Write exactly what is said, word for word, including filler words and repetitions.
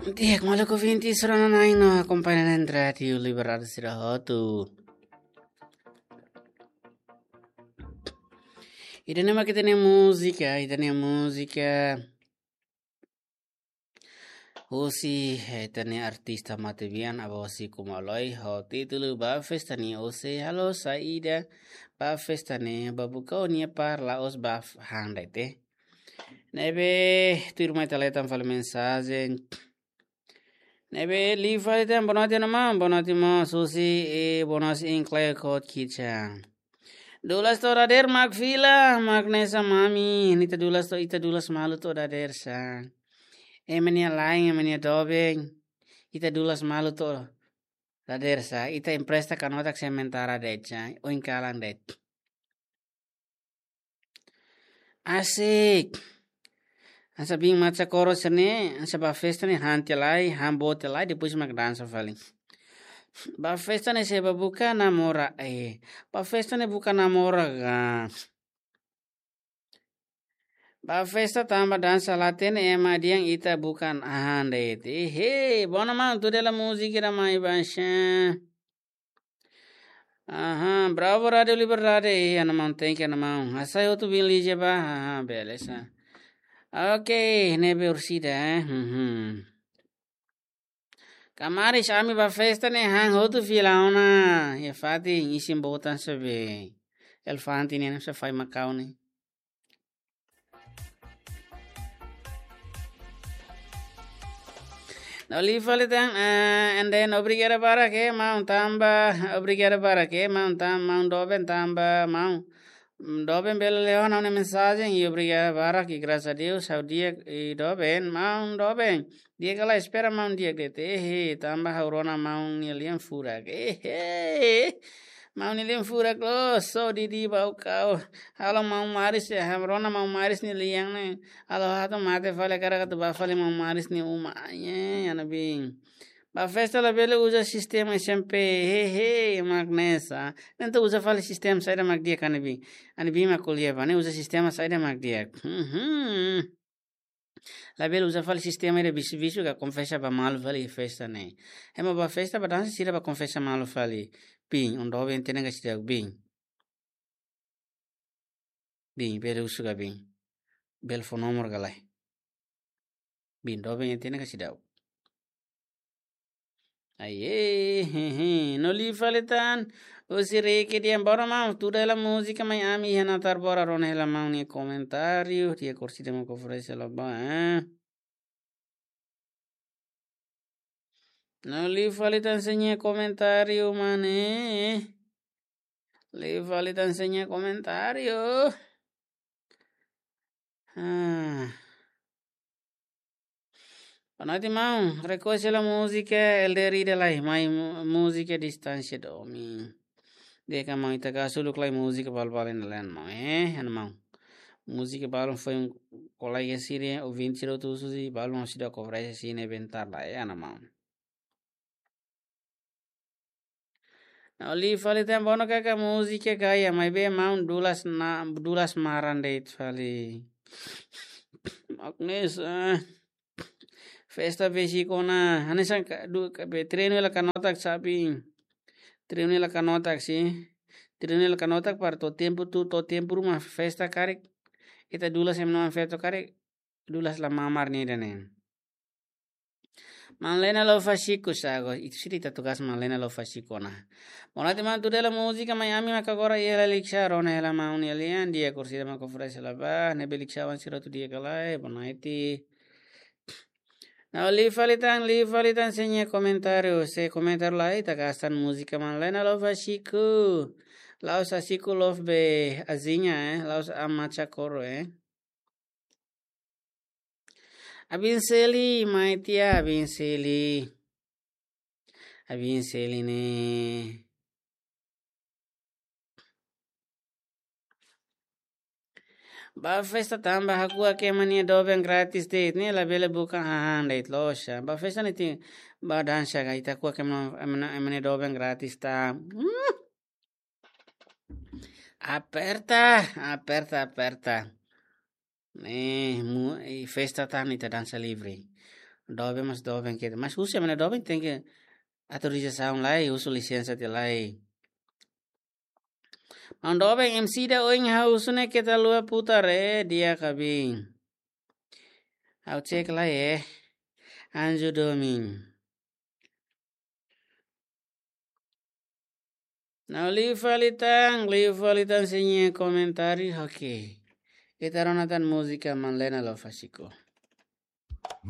Di'ak, maluk ouvinte sira-na'in no akompaña iha Rádiu Liberdade sira hotu. Ida-ne'e mak ita-nia múzika, ita-nia múzika husi ita-nia artista matebian Abah Siku Maloi, ho títulu Ba Festa Ne'e. Ou seja, halo saida ba festa ne'e, ba buka ó-nia par la'ós ba f-, han de'it. Ne'ebé tuirmai ita leten fali mensajen. Ne'ebé liu fali tan, boa noite, maun. Boa noite, maun Susi, e boa noite, Enclave Code Kitchen. Dulas to'o dadeer mak fila, mak hanesan ami, ita dulas to'o, ita dulas malu to'o dadeer sá. Ema nia la'en, ema nia doben, ita dulas malu to'o dadeer sá. Ita empresta kanotak sementara de'it sá, oin kalan de'it. Asik. Hanesan biin Macha Koro sira-ne'e, hanesan ba festa ne'e han tiha lai, han boot tiha lai, depois mak dansa fali. Ba festa ne'e sei ba buka namora, eh. Ba festa ne'e buka namora ka. Ba festa tanba dansa la hatene ema di'ak, ita buka han de'it. Ehe, bona maun, tuda hela múzika ida mai baixa. Aha, bravo Rádiu Liberdade. Ih, ana maun, thank you, ana maun. Hasai hotu biin Lígia ba. Aha, beleza. Ok, ne'ebé orsida, eh. Mhm. Kamaris, ami ba festa ne'e han hotu fila ona. Iha fatin isin boot an sebe. Elefante ne'e, ne'e sei fai makau ne'e. No liu fali tan, eh, and then obrigada barak, eh, maun tanba, obrigada barak, eh, maun tan, maun doben tanba, maun, mm, doben bele leo ha'u-nia mensajen, i obrigada barak, i graças a Deus, ha'u di'ak, i doben, maun doben, di'ak ka lae, espera maun di'ak de'it, eh, tanba ha'u rona maun nia lian furak, eh, eh. Maun nia lian furak loos, só Didi ba kau. Halo maun Maris, eh, ha'u rona maun Maris nia lian ne'e. Halo ha'u atu mate fali, hakarak atu ba fali maun Maris nia uma. Ai, eh, ana biin. Ba festa labele uza sistema S M P. He, he, mak hanesan. Ne'e atu uza fali sistema saida mak di'ak, ana biin. Ana biin mak ko'alia ba ne'e, uza sistema saida mak di'ak. Mhm. Labele uza fali sistema ida bisu-bisu ka konfesa ba malu fali festa ne'e. Ema ba festa ba dansa sira ba konfesa malu fali. Biin, ó doben hatene ka seidauk, biin. Biin, bele husu ka biin. Bele fó nomor ka lae. Biin, doben hatene ka seidauk. Ai, eh, he, he. No liu fali tan. Husi Riki dehan, bora maun, tuda hela múzika mai ami iha natar bora, rona hela maun nia komentáriu, di'ak orsida mak oferese hela ba, eh. No liu fali tan sé nia komentáriu, mane. Liu fali tan sé nia komentáriu. Ah. Boa noite, maun. Request hela múzika L D R ida lai, mai mu-, múzika Distánsia Domin. Di'ak ka maun, ita ka suluk lai múzika balu-balu iha ne'e lae, maun. Eh, ana maun. Múzika balu foin ko'alia sira, ouvinte sira hotu husu, balu maun seidauk oferese sira bentar lai, eh, ana maun. No liu fali tan, bonu kaka múzika gaya, maibé maun dulas na, dulas maran de'it fali. Agnes, eh, festa besik ona, hanesan ka, du, ka, be, treinu hela kanotak sabi. Treinu hela kanotak si. Treinu hela kanotak para to'o tempu tu, to'o tempu ruma festa karik. Ita dulas ema na'in festa karik. Dulas la mamar nia ida-ne'e. Maun Lena Lofasiku sago, itu sih ita tugas Maun Lena Lofasiku ona. Boa noite maun, tuda hela múzika mai ami mak agora iha Lalixa, rona hela maun nia lian, di'ak orsida mak oferese hela ba, ne'ebé Lixawan sira hotu di'ak ka lae, boa noite. No liu fali tan, liu fali tan sé nia komentáriu, sé komentáriu lai, ita gasta múzika Maun Lena Lofasiku. La'ós Asiku Love be azinha, eh, la'ós Ama Chakoro, eh. Abin Seli, mai tiha Abin Seli. Abin Seli ne'e. Ba festa tanba hakuak ema nia doben gratis de'it, ne'e labele buka hahán de'it loos. Ba festa ne'e tenke ba dansa ka, ita hakuak ema, ema, ema nia doben gratis tan. Hmm. Aperta, aperta, aperta. Eh, mu-, eh, festa tan ita dansa livre. Doben mas doben keta. Mas husi mana doben tenke autorizasaun lai, husu lisensa tiha lai. Maun doben M C da oin ha'u husu ne'e keta lua putar eh di'ak ka bin. Ha'u cek lai eh. Anjo domin. Nau liu fali tan, liu fali tan sira-nia komentáriu, oke. Ita rona tan múzika Manlena Lofasiko.